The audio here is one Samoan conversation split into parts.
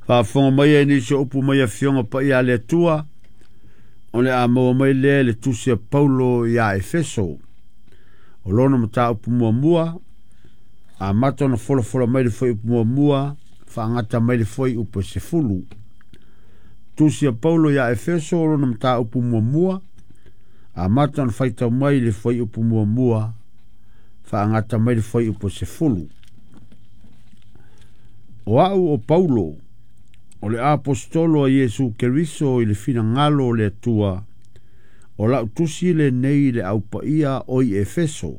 Faafofoga mai ai nisi o upu mai afioga paia a le Atua, o le a maua mai lea i le tusi a Paulo iā Efeso. O lona mataupu muamua, amata ona folafola mai le fuaiupu muamua, faagata mai le fuaiupu e 10. Tusi a Paulo iā Efeso, o lona mataupu muamua, amata ona faitau mai le fuaiupu muamua, faagata mai le fuaiupu e 10. O au o Paulo, o le aposetolo a Iesu Keriso i le finagalo o le Atua, o lau tusi lenei i le aupaia o i Efeso,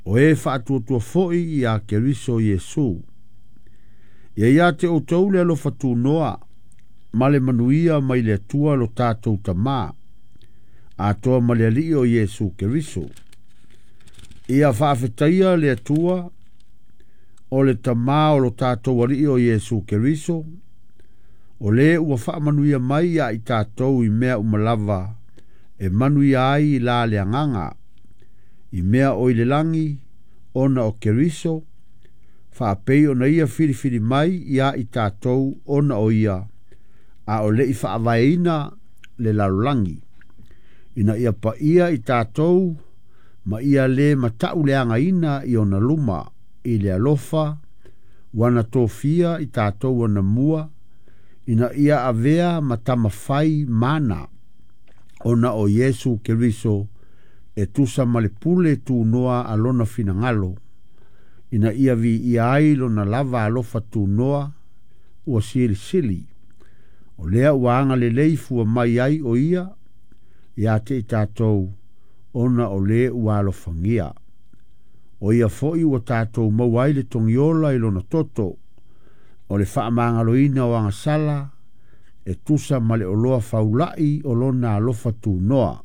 o e faatuatua foi iā Keriso Iesu. Ia ia te outou le alofa tunoa, ma le manuia mai le Atua lo tatou Tamā, atoa ma le Alii o Iesu Keriso. Ia faafetaia le Atua, o le Tamā o lo tatou Alii o Iesu Keriso, o le ua faamanuia mai ia i tatou i mea uma lava e manuia ai i la le agaga, i mea o i le lagi, ona o Keriso, faapei ona ia filifili mai ia i tatou ona o ia, a o le i faavaeina le lalolagi, ina ia paia i tatou ma ia le matauleagaina i ona luma, i le alofa, ua na tofia i tatou anamua, ina ia avea ma tamafai mana, ona o Iesu Keriso e tusa ma le pule tunoa a lona finagalo, ina ia viia ai lona lava alofa tunoa ua silisili. O lea ua agalelei fua mai ai o ia ia te i tatou ona o le ua alofagia. O ia foi ua tatou maua ai le togiola i lona toto, o le faamagaloina o agasala e tusa ma le oloa faulai o lona alofa tunoa.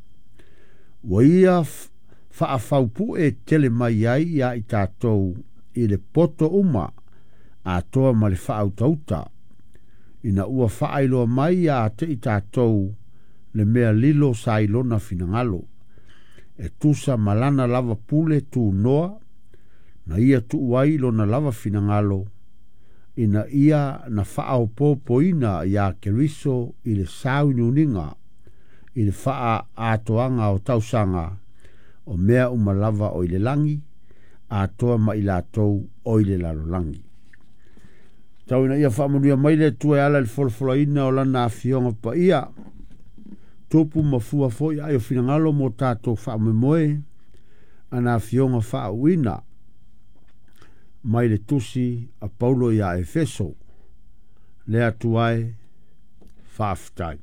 Ua ia faafaupue tele mai ai ia i tatou i le poto uma atoa ma le faautauta, ina ua faailoa mai ia te i tatou le mea lilo sa i lona finagalo, e tusa ma lana lava pule tunoa, na ia tuu ai lona lava finagalo, ina ia na faaopoopoina iā Keriso i le sauniuniga, i le faaatoaga o tausaga, o mea uma lava o i le lagi, atoa ma i latou o i le lalolagi. Tau ina ia faamanuia mai le Atua e ala i le folafolaina o lana afioga paia, tupu ma fua foi ai o finagalo mo tatou faamoemoe, ana afioga faauuina mai le tusi a Paulo iā Efeso. Le Atua e, faafetai.